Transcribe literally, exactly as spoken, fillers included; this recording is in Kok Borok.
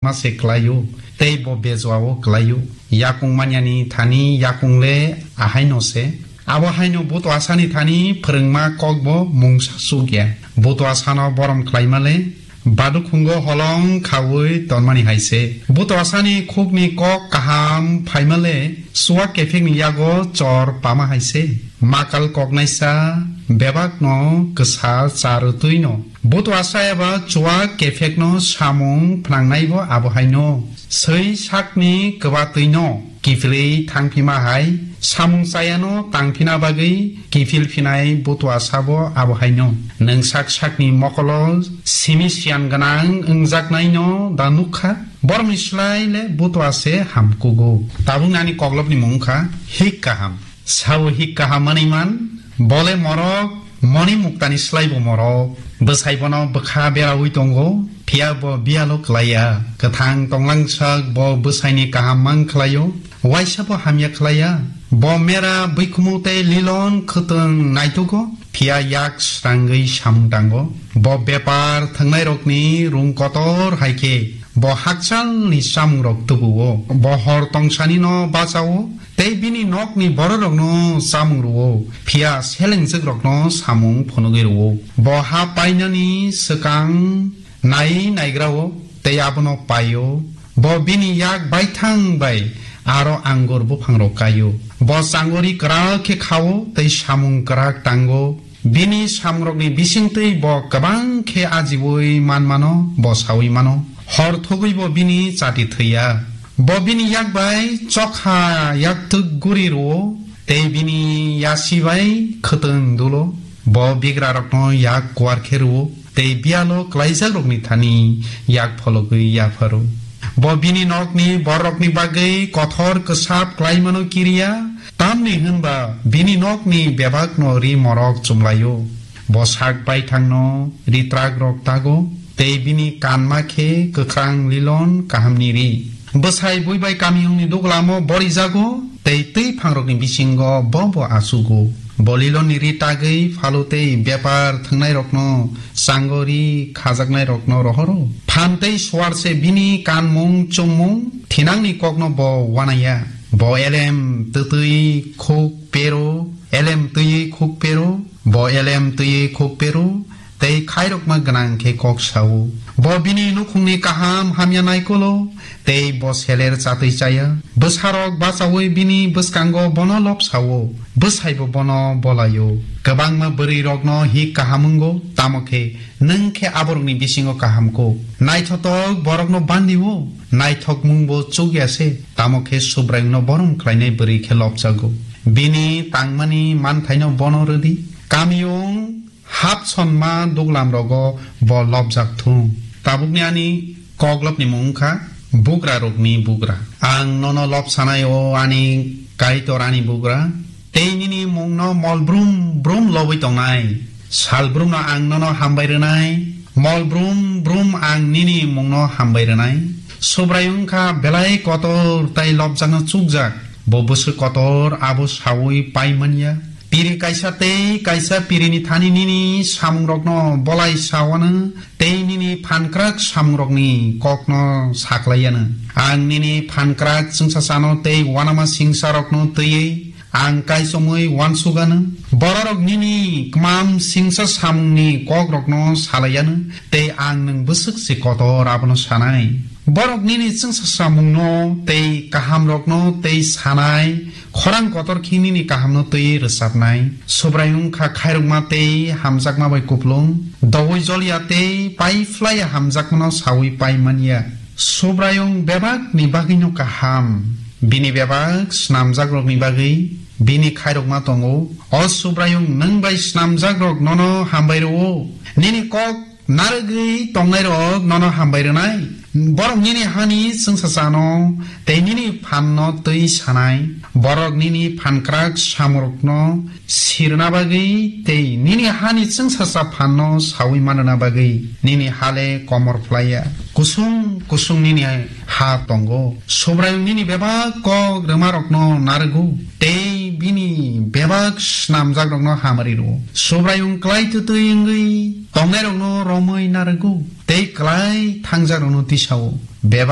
ma se klai-o, tei bo bejua-o klai-o. Yakung manyani thani yakung le ahaino se. Abo haino butuasani thani phrwngma kokbo mungsa chuk ya. Butuasano borom khlaima le badukhungo holong khaui tonmani hai se. Butuasani khukni kok kaham phaima le suak kephekni yago chor pama hai se. Makal koknaisa bebakno kwsa cha rwtwi no. Butuasa eba chuak kephekno samung phnangnaibo abo haino. Swi sakni kwbatwino kiphilwi thangphima hai, samung chayano tangphina bagwi kiphil phinai butuasabo abo haino. Nwng sak sakni mokolo simi siyan gwnang wngjaknaino da nukha? Borokni slai le butuase hamkugo. Tabukni ani koklopni mung wngkha hik kaham. Sao hik kaham manwi man, bole morok, moni muktani slaibo morok. Bwsai bono bwkha beraui tongo, phiya bo biyalo klaiya. Kwthang tonglangsak bo bwsaini kaham mang khlaio, waisa bo hamya khlaiya. Bo mera bwikhumu tei lilon khwtwng naitugo, phiya yak srangwi samung tango. Bo bepar thwngnairokni rung kotor hai khe, bo hakchalni chamungrok tubuo. Bo hor tongsanino bachao, tei bini nokni bororokno chamung rwo, phiya selengjwkrokno samung phunugwi rwo. Bo ha painani swkang nai naigrao, tei abono paio. Bo bini yak baithang bai aro angur buphangrok kaio. Bo changori kwrak khe khao, tei samung kwrak tango. Bini samrokni bisingtwi bo kwbang khe ajiui manmano, bo saui mano. Hor thugui bo bini chati thwiya. Bo bini yak bai chokha yaktwk guri rwo, tei bini yasi bai khwtwng dulo. Bo bigrarokno yak kuar khe rwo, tei biyalo klaijakrokni thani yak phologwi yapharo. Bo bini nokni bororokni bagwi kothor kwsap klaimano kiriya, tamni hwnba bini nokni bebakno ri morok chumlaio. Bo sak baithangno ri trakrok tago, tei bini kanma khe kwkhrang lilon kahamni ri. Bwsai bui bai kamiyungni duglamo borijago, tei twi phangrokni bisingo bo bo achugo. Bo lilonni ri tagwi phalo tei bepar thwngnairokno chango ri khajaknairokno rohoro. Phan tei suar se bini kanmung chumung, thinangni kokno bo wanaya. Bo elem twtwi khuk pero, elem twiwi khuk pero, bo elem twiwi khuk pero, tei khairokma gwnang khe kok sao. Bo bini nukhungni kaham hamya naikolo, tei bo seler chatwi chaya. Bwsarok bachaui bini bwskango bono lobsao, bwsaibo bono bolaio. Kwbangma bwrwirokno hik kaham wngo, tamo khe nwng khe aborokni bisingo kaham kuk. Naithotok borokno bandio, naithokmungbo chukya se, tamo khe Subraiyungno borom khlainai bwrwi khe lobjago. Bini tangmani manthaino bono rwdi. Kamiyung hap sonma duglam rogo bo lobjak thung. Tabukni ani koklopni mung wngkha bugra rokni bugra. Ang nono lobsanai o ani Kaitor ani bugra, tei nini mungno mol brum brum lobwi tongnai. Sal brumno ang nono hambai rwnai, mol brum brum ang nini mungno hambai rwnai. Subraiyung wngkha belai kotor tei lobjakno chukjak, bo bwswk kotor abo saui pai manya. Piri kaisa tei kaisa pirini thani nini samungrokno bolai sawano tei nini phankrak samungrokni kokno saklaiano. Ang nini phankrak chwngsachano tei uanama singsarokno twiwi ang kaichomwi uansukano. Bororok nini kmam singsa samungni kokrokno salaiano tei ang nwng bwswk se kotor abono sanai. Borok nini chwngsa samungno tei kahamrokno tei sanai, khorang kotor khe nini kahamno twiwi rwchapnai. Subraiyung wngkha khairokma tei hamjakma bai kupulung, doui joliya tei pai phlaiya hamjakmano saui pai manya. Subraiyung bebakni bagwino kaham, bini bebak snamjakrokni bagwi bini khairokma tongo. O Subraiyung, nwng bai snamjakrok nono hambai rwo, nini kok narwgwi tongnairok nono hambai rwnai. Borok nini hani chwngsachano tei nini phanno twi sanai. Borok nini phankrak samurokno sirna bagwi tei nini hani chwngsacha phanno saui manna bagwi nini hale komor phlaiya. Kusung kusung nini ha tongo. Subraiyung nini bebak kok rwmarokno narwgo tei Bini bebak snamjakrokno hamari rwo. Subraiyung klai twtwi wngwi tongnairokno romwi narwgo, tei klai thangjakrokno tisao. Bebak